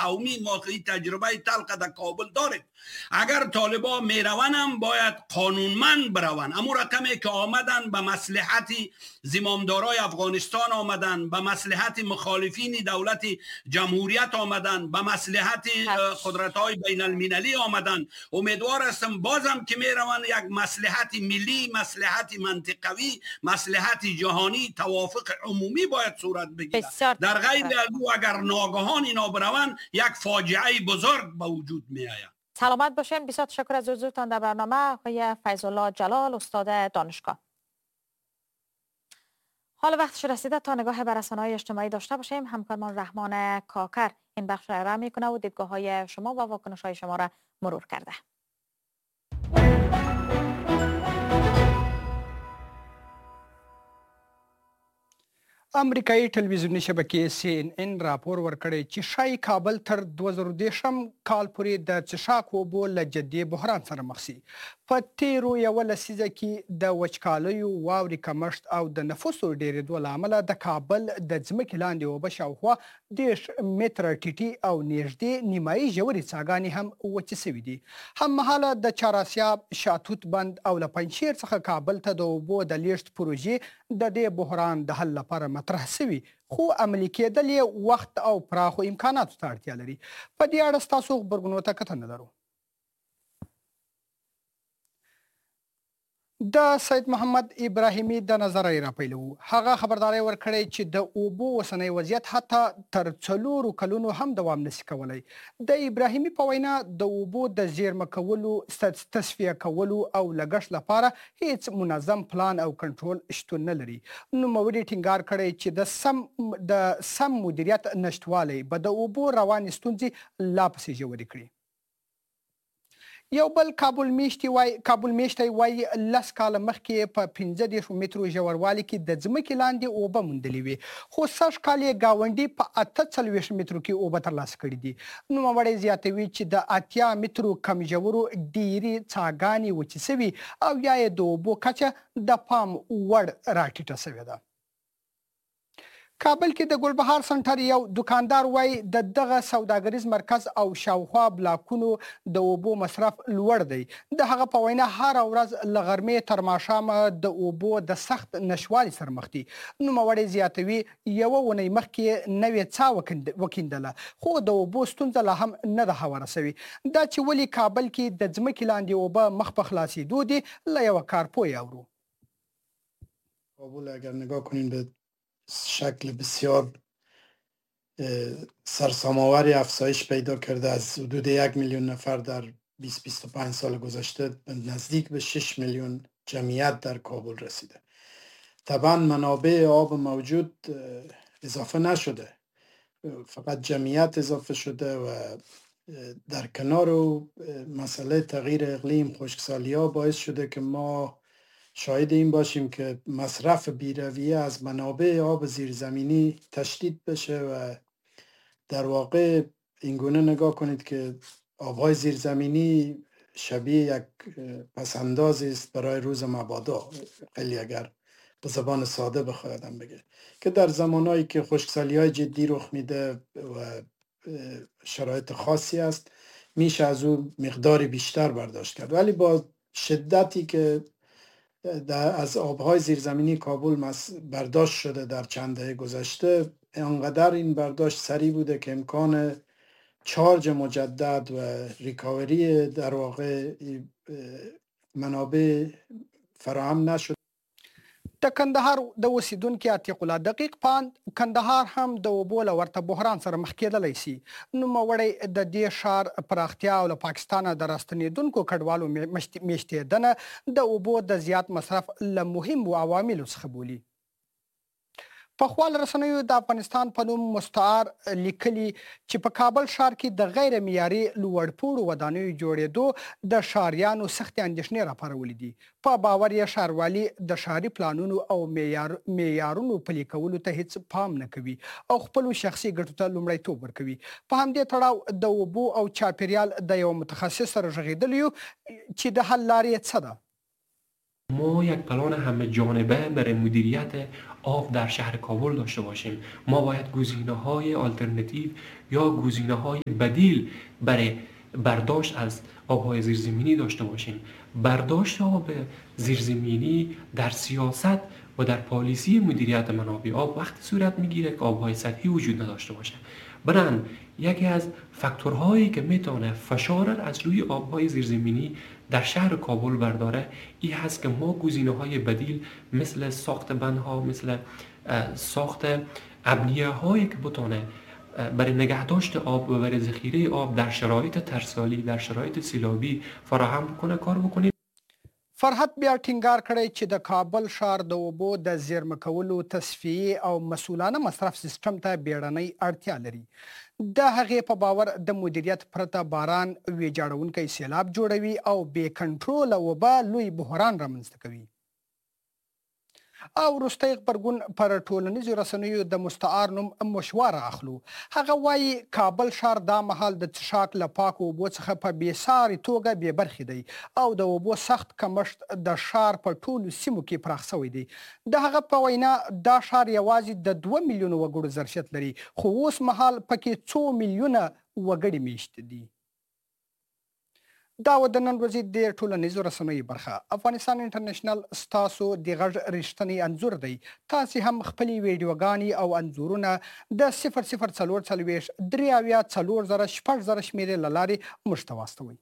قومی. ما تجربه تلخ در کابل داریم. اگر طالبا میروند هم باید قانونمند بروند. امو رقمی که آمدن به مصلحت زمامدارای افغانستان آمدن، به مصلحت مخالفین دولت جمهوریت آمدن، به مصلحت قدرت‌های بین المللی آمدن. امیدوار هستم بازم که میروند یک مصلحت ملی، مصلحت منطقوی، مصلحت جهانی، توافق عمومی باید صورت بگیرد. در غیر از او اگر ناگهان اینا بروند یک فاجعه بزرگ به وجود می آید. سلامت باشین. بسیار تشکر از حضورتان در برنامه آقای فیض الله جلال، استاد دانشگاه. حالا وقتش رسیده تا نگاه بر رسانه‌های اجتماعی داشته باشیم. همکارمان رحمان کاکر این بخش را ارائه میکنه و دیدگاه‌های شما و واکنش‌های شما را مرور کرده. امریکایي ټلویزیوني شبکې سي ان ان راپور ورکړی چې ښايي کابل تر 2030 کال پورې د څښاک اوبو له جدي بحران سره مخ شي. په تیرو یوه لسیزه کې د وچکالیو، واورې کمښت او د نفوسو ډېرېدو له امله د کابل د ځمکې لاندې اوبه شاوخوا 30 متره ټیټې او نږدې نیمایي ژورې څاګانې هم وچې شوې دي. هممهاله د چاراسیاب، شاتوت بند او له پنجشیر څخه کابل ته د اوبو د لیږد پروژې د دې بحران د حل لپاره مطرح شوي، خو عملي کېدل یې وخت او پراخو امکاناتو ته اړتیا لري. په دې اړه ستاسو غبرګونو ته کتنه لرو. د سید محمد ابراهیمي د نظر راپیلوو. هغه خبرداری ورکړی چې د اوبو اوسنی وضعیت حتی تر 4 کلونو هم دوام نشي کولی. د ابراهیمي په وینا د اوبو د زیرمه کولو، تصفیه کولو او لګښت لپاره هیڅ منظم پلان او کنټرول شتون نه لري. نوموړي ټینګار کړی چې د سم مدیریت نشتوالی به د اوبو روانې ستونزې لا پسې ژورې کړي. یو بل کابل میشتی وایي 10 کاله مخکې په 35 مترو ژوروالي کې د ځمکې لاندې اوبه موندلې وې، خو سږ کال یې ګاونډي په 48 مترو کې اوبه ترلاسه کړې دي. نوموړی زیاتوي چې د 80 مترو کم ژورو ډېرې څاګانې وچې شوي او یا یې د اوبو کچه د پام وړ راټیټه شوې ده. کابل کې د ګلبهار سنټر یو دکاندار وایي د دغه سوداګریز مرکز او شاوخوا بلاکونو د اوبو مصرف لوړ دی. د هغه په وینا هره ورځ له غرمې تر ماښامه د اوبو د سخت نشوالي سره مخ دي. نوموړی زیاتوي یوه اونۍ مخکې نوې څاه وکیندله، خو د اوبو ستونزه لا هم نه ده هواره شوې. دا چې ولې کابل کې د ځمکې لاندې اوبه مخ په خلاصېدو دي، له یوه کارپوه یې اورو. کابل اگر نگاه کنیم به شکل بسیار سرسام‌آوری افزایش پیدا کرده، از حدود 1 میلیون نفر در 20-25 سال گذشته نزدیک به 6 میلیون جمعیت در کابل رسیده. طبعا منابع آب موجود اضافه نشده، فقط جمعیت اضافه شده و در کنار مسئله تغییر اقلیم، خشکسالی ها باعث شده که ما شاهد این باشیم که مصرف بیرویه از منابع آب زیرزمینی تشدید بشه و در واقع اینگونه نگاه کنید که آبهای زیرزمینی شبیه یک پسنداز است برای روز مبادا، خیلی اگر به زبان ساده بخواد بگه که در زمانهایی که خشکسالی‌های جدی رخ میده و شرایط خاصی است میشه از او مقداری بیشتر برداشت کرد، ولی با شدتی که از آبهای زیرزمینی کابل برداشت شده در چند دهه گذشته، انقدر این برداشت سریع بوده که امکان چارج مجدد و ریکاوری در واقع منابع فراهم نشد. د کندهار د اوسیدونکي عتیق الله دقیق پاند کندهار هم د اوبو له ورته بحران سره مخ کېدلی شي. نوموړی د دې ښار پراختیا او له پاکستانه د راستنېدونکو کډوالو میشتېدنه د اوبو د زیات مصرف له مهمو عواملو څخه بولي. په خواله رسنیو د افغانستان په نوم مستعار لیکلي چې په کابل ښار کې د غیر معیاري لوړپوړو ودانیو جوړېدو د ښاریانو سختې اندېښنې راپارولې دي. په باور یې ښاروالي د ښاري پلانونو او معیارونو پلي کولو ته هیڅ پام نه کوي او خپلو شخصي ګټو ته لومړیتوب ورکوي. په همدې تړاو د اوبو او چاپېریال د یوه متخصص سره غږېدلی یو چې د حل لارې یې څه ده. ما یک پلان همه جانبه برای مدیریت آب در شهر کابل داشته باشیم. ما باید گزینه‌های آلترناتیو یا گزینه‌های بدیل برای برداشت از آب‌های زیرزمینی داشته باشیم. برداشت آب زیرزمینی در سیاست و در پالیسی مدیریت منابع آب وقتی صورت میگیره که آب‌های سطحی وجود نداشته باشه. بنابراین یکی از فاکتورهایی که میتونه فشار از روی آب‌های زیرزمینی در شهر کابل برداره این هست که ما گزینه‌های بدیل مثل ساخت بندها، مثل ساخت ابنیه‌هایی که بتونه برای نگهداشت آب و برای ذخیره آب در شرایط ترسالی، در شرایط سیلابی فراهم بکنه، کار بکنیم. فرحت بیا ټینګار کړی چې د کابل ښار د اوبو د زیرمه کولو، تصفیې او مسؤلانه مصرف سیستم ته بیړنۍ اړتیا لري. د هغې په باور د مدیریت پرته باران ویجاړونکی سیلاب جوړوي او بې کنټروله اوبه لوی بحران رامنځته کوي. او وروستی غبرګون پر ټولنیزو رسنیو د مستعار نوم مشواره اخلو. هغه وایي کابل ښار دا مهال د څښاک له پاکو اوبو څخه په بې ساري توګه بې برخې دی او د اوبو سخت کمښت د ښار په ټولو سیمو کې پراخ شوی دی. د هغه په وینا دا ښار یوازې د 2 میلیونو وګړو ظرفیت لري، خو اوس مهال پکې څو میلیونه وګړي میشت دي. دا و د نن ورځې د ټولنیزو رسنیو برخه. افغانستان انټرنشنل ستاسو د غږ رښتینی انځور دی. تاسې هم خپلې ویډیوګانې او انځورونه د 0044 73 4000 شمېرې له لارې موږ ته واستوئ.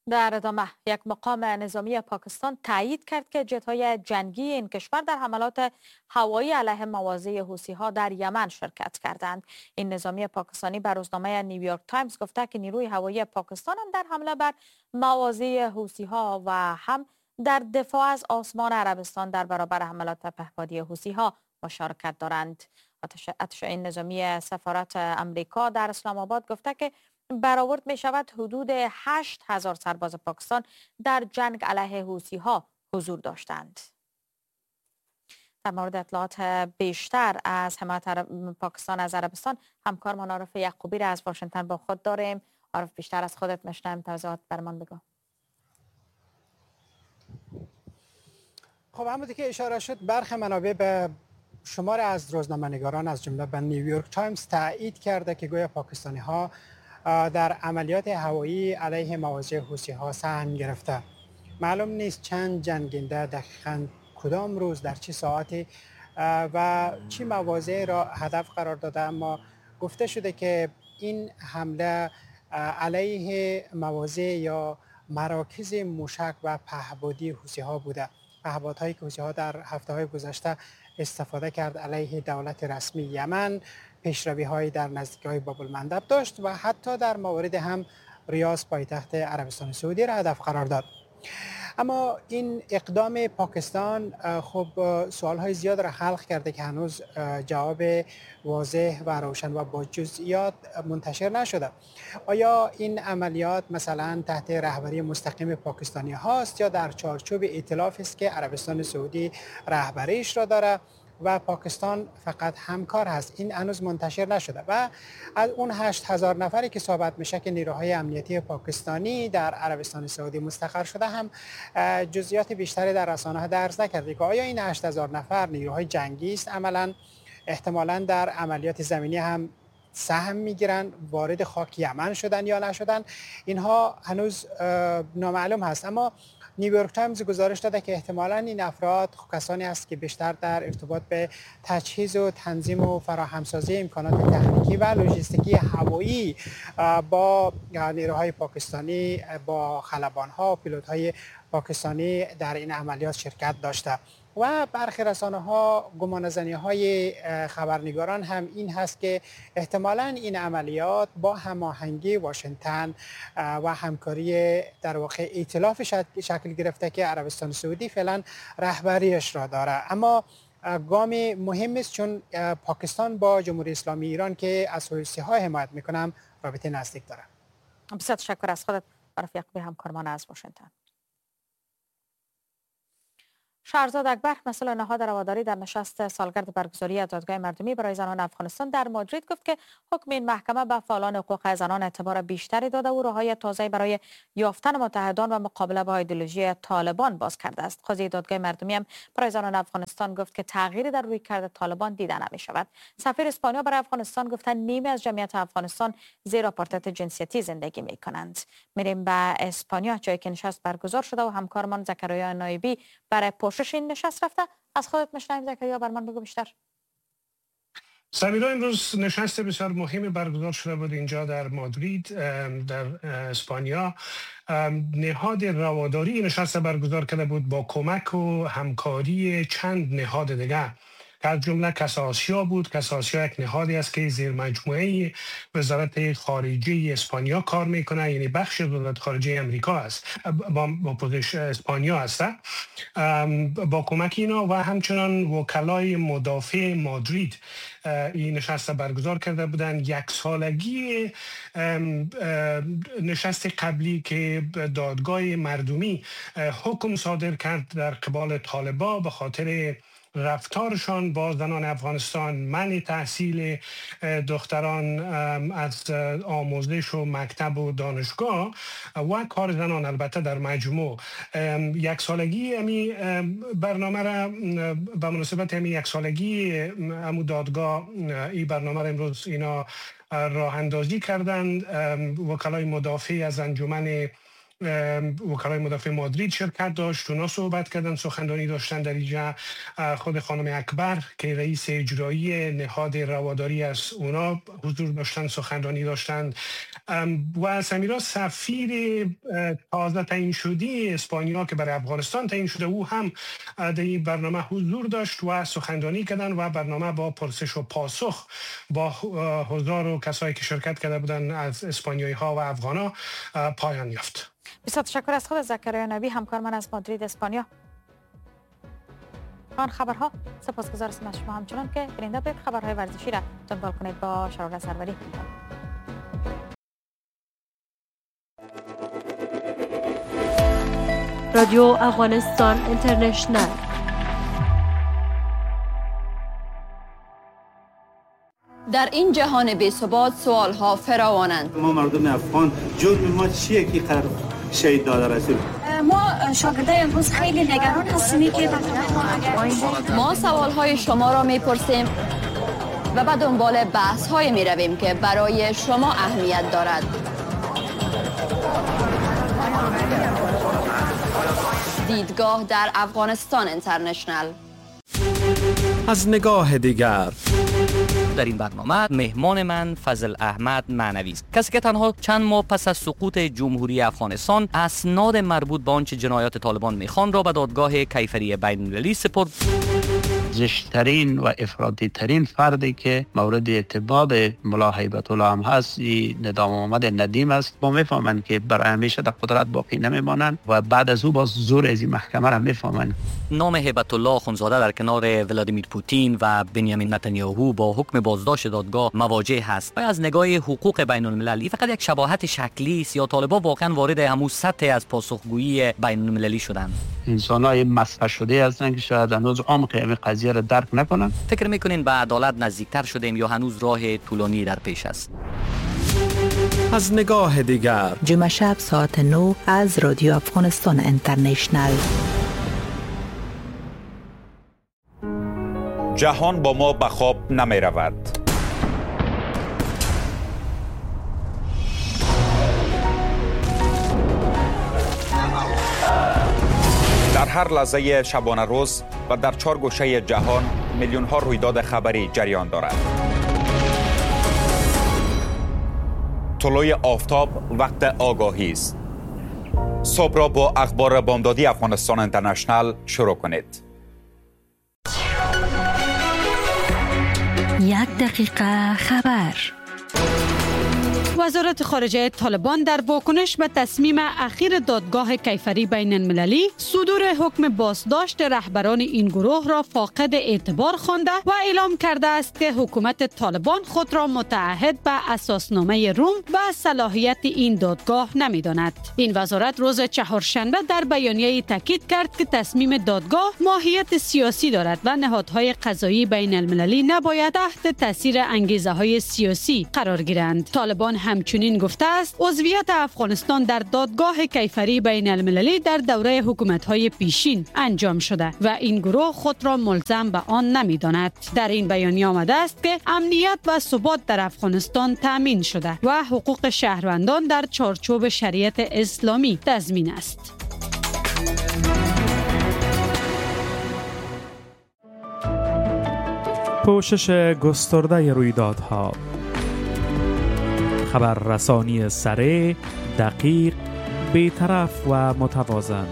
در ادامه یک مقام نظامی پاکستان تایید کرد که جت‌های جنگی این کشور در حملات هوایی علیه مواضع حوثی‌ها در یمن شرکت کردند. این نظامی پاکستانی بر روزنامه نیویورک تایمز گفته که نیروی هوایی پاکستان هم در حمله بر مواضع حوثی‌ها و هم در دفاع از آسمان عربستان در برابر حملات پهپادی حوثی‌ها مشارکت دارند. اتشای نظامی سفارت امریکا در اسلام آباد گفته که برآورد می شود حدود 8000 سرباز پاکستان در جنگ علیه حوثی ها حضور داشتند. در مورد اطلاعات بیشتر از حمایت پاکستان از عربستان همکارمان عارف یعقوبی را از واشنگتن با خود داریم. عارف، بیشتر از خودت میشنویم، توضیحات برمان بگو. خب همونطور که اشاره شد برخی منابع به شمار از روزنامه‌نگاران از جمله به نیویورک تایمز تایید کرده که گویا پاکستانی ها در عملیات هوایی علیه مواضع حوثی‌ها سهم گرفته. معلوم نیست چند جنگنده دقیقاً کدام روز در چه ساعتی و چه مواضع را هدف قرار داده، اما گفته شده که این حمله علیه مواضع یا مراکز موشک و پهپادی حوثی‌ها بوده. پهپادهایی که حوثی‌ها در هفته‌های گذشته استفاده کرد علیه دولت رسمی یمن، پیشروی‌های در نزدیکی‌های باب المندب داشت و حتی در موارد هم ریاض پایتخت عربستان سعودی را هدف قرار داد. اما این اقدام پاکستان خب سوال‌های زیاد را خلق کرده که هنوز جواب واضح و روشن و با جزئیات منتشر نشده. آیا این عملیات مثلا تحت رهبری مستقیم پاکستانی هاست یا در چارچوب ائتلاف است که عربستان سعودی رهبریش را داره و پاکستان فقط همکار هست؟ این هنوز منتشر نشده. و از اون 8000 نفری که صحبت میشه که نیروهای امنیتی پاکستانی در عربستان سعودی مستقر شده هم جزئیات بیشتری در رسانه‌ها درز نکرده که آیا این 8000 نفر نیروهای جنگی است، عملاً احتمالاً در عملیات زمینی هم سهم میگیرن، وارد خاک یمن شدن یا نشدن، اینها هنوز نامعلوم هست. اما نیویورک تایمز گزارش داده که احتمالاً این افراد کسانی هست که بیشتر در ارتباط به تجهیز و تنظیم و فراهمسازی امکانات تکنیکی و لوجستیکی هوایی با نیروهای پاکستانی، با خلبان‌ها و پیلوت‌های پاکستانی در این عملیات شرکت داشته. و برخی رسانه‌ها گمانه‌زنی‌های خبرنگاران هم این هست که احتمالاً این عملیات با هماهنگی واشنگتن و همکاری در واقع ائتلاف شکل گرفته که عربستان سعودی فعلا رهبریش را داره. اما گام مهم است چون پاکستان با جمهوری اسلامی ایران که از حوثی‌ها حمایت می‌کنه رابطه نزدیک داره. بسیار تشکر از خودت عارف یعقوبی، همکارمان از واشنگتن. شهرزاد اکبر، مسئول نهاد رواداری، در نشست سالگرد برگزاری دادگاه مردمی برای زنان افغانستان در مادرید گفت که حکم این محکمه به فعالان حقوق زنان اعتبار بیشتری داده و راه‌های تازه برای یافتن متحدان و مقابله با ایدئولوژی طالبان باز کرده است. قاضی دادگاه مردمی هم برای زنان افغانستان گفت که تغییری در رویکرد طالبان دیده نمی‌شود. سفیر اسپانیا برای افغانستان گفت نیمی از جمعیت افغانستان زیر آپارتاید جنسیتی زندگی می‌کنند. میریم به اسپانیا، جایی که نشست برگزار شده و همکارمان زکریا نایبی برای پوشش این نشست رفته. از خودت میشنویم زکریا، بر من بگو بیشتر. سمیرا، امروز نشست بسیار مهم برگزار شده بود اینجا در مادرید در اسپانیا. نهاد رواداری نشست برگزار کرده بود با کمک و همکاری چند نهاد دیگه، از جمله کس آسیا بود. کس آسیا یک نهادی است که زیر مجموعه وزارت خارجه اسپانیا کار میکنه، یعنی بخش وزارت خارجه امریکا است با پوزش اسپانیا است. با کمک اینا و همچنان وکلای مدافع مادرید این نشست برگزار کرده بودند. یک سالگی نشست قبلی که دادگاه مردمی حکم صادر کرد در قبال طالبا به خاطر رفتارشان با زنان افغانستان، منع تحصیل دختران از آموزش و مکتب و دانشگاه و کار زنان البته در مجموع. یک سالگی امی برنامه را به مناسبت امی یک سالگی امو دادگاه این برنامه را امروز اینا راه اندازی کردند. وکلای مدافع از انجمن وکلای مدافع مادرید شرکت داشت، اونا صحبت کردن، سخنرانی داشتن در اینجا. خود خانم اکبر که رئیس اجرایی نهاد رواداری است، اونا حضور داشتن، سخنرانی داشتند. و سمیرا، سفیر تازه تعیین شده اسپانیا که برای افغانستان تعیین شده، او هم در این برنامه حضور داشت و سخنرانی کردن و برنامه با پرسش و پاسخ با حضار و کسایی که شرکت کرده بودن از اسپانیایی ها و افغان ها پایان یافت. بسیار تشکر از خود زکریا نبی، همکار من از مادرید اسپانیا. آن خبرها، سپاسگزار هستم از شما همچنان که بیننده به خبرهای ورزشی را دنبال کنید با شراره سروری. رادیو افغانستان اینترنشنال. در این جهان بی‌ثبات سوال‌ها فراوانند. ما مردم افغان جرم ما چیه که قرار شهید داده رسول؟ ما شاگردای امروز خیلی نگران هستیم که ما سوال‌های شما را می‌پرسیم و به دنبال بحث‌های می‌رویم که برای شما اهمیت دارد. دیدگاه در افغانستان اینترنشنال. از نگاه دیگر. در این برنامه مهمان من فضل احمد معنوی است، کسی که تنها چند ماه پس از سقوط جمهوری افغانستان اسناد مربوط به آنچه جنایات طالبان میخوان را به دادگاه کیفری بین‌المللی سپرد. زشت‌ترین و افراطی ترین فردی که مورد اعتماد ملا هیبت الله هم هست، ندام محمد ندیم است. ما میفهمند که برای همیشه در قدرت باقی نمیمانند و بعد از او باز زور از این محکمه را میفهمند. نام هیبت الله آخوندزاده در کنار ولادیمیر پوتین و بنیامین نتانیاهو با حکم بازداشت دادگاه مواجه هست. آیا از نگاه حقوق بین المللی فقط یک شباهت شکلی است یا طالبان واقعا وارد همون سطح از پاسخگویی بین المللی شدند؟ انسان‌های مسخ شده هستند که شاید هنوز عمق این قضیه را درک نکنند. فکر میکنین به عدالت نزدیکتر شدیم یا هنوز راه طولانی در پیش است؟ از نگاه دیگر، جمعه شب ساعت 9 از رادیو افغانستان اینترنشنال. جهان با ما به خواب نمی رود. در هر لحظه شبانه روز و در چهار گوشه جهان میلیون ها رویداد خبری جریان دارد. طلوع آفتاب وقت آگاهی است. صبح را با اخبار بامدادی افغانستان اینترنشنال شروع کنید. یک دقیقه خبر. وزارت خارجه طالبان در واکنش به تصمیم اخیر دادگاه کیفری بین المللی صدور حکم بازداشت رهبران این گروه را فاقد اعتبار خوانده و اعلام کرده است که حکومت طالبان خود را متعهد به اساسنامه روم و صلاحیت این دادگاه نمی‌داند. این وزارت روز چهارشنبه در بیانیه‌ای تاکید کرد که تصمیم دادگاه ماهیت سیاسی دارد و نهادهای قضایی بین المللی نباید تحت تاثیر انگیزه‌های سیاسی قرار گیرند. طالبان همچنین گفته است عضویت افغانستان در دادگاه کیفری بین المللی در دوره حکومت‌های پیشین انجام شده و این گروه خود را ملزم به آن نمی‌داند. در این بیانیه آمده است که امنیت و ثبات در افغانستان تأمین شده و حقوق شهروندان در چارچوب شریعت اسلامی تضمین است. پوشش گسترده رویدادها، خبررسانی سریع، دقیق، بی‌طرف و متوازن.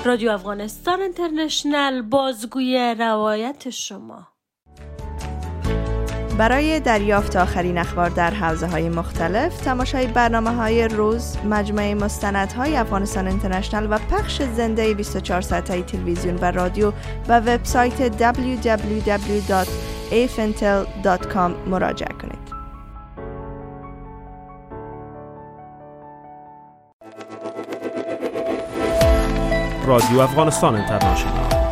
رادیو افغانستان اینترنشنال، بازگوی روایت شما. برای دریافت آخرین اخبار در حوزه‌های مختلف، تماشای برنامه‌های روز، مجموعه مستندهای افغانستان اینترنشنال و پخش زنده 24 ساعته تلویزیون و رادیو و وبسایت www.afintel.com مراجعه کنید. رادیو افغانستان اینترنشنال.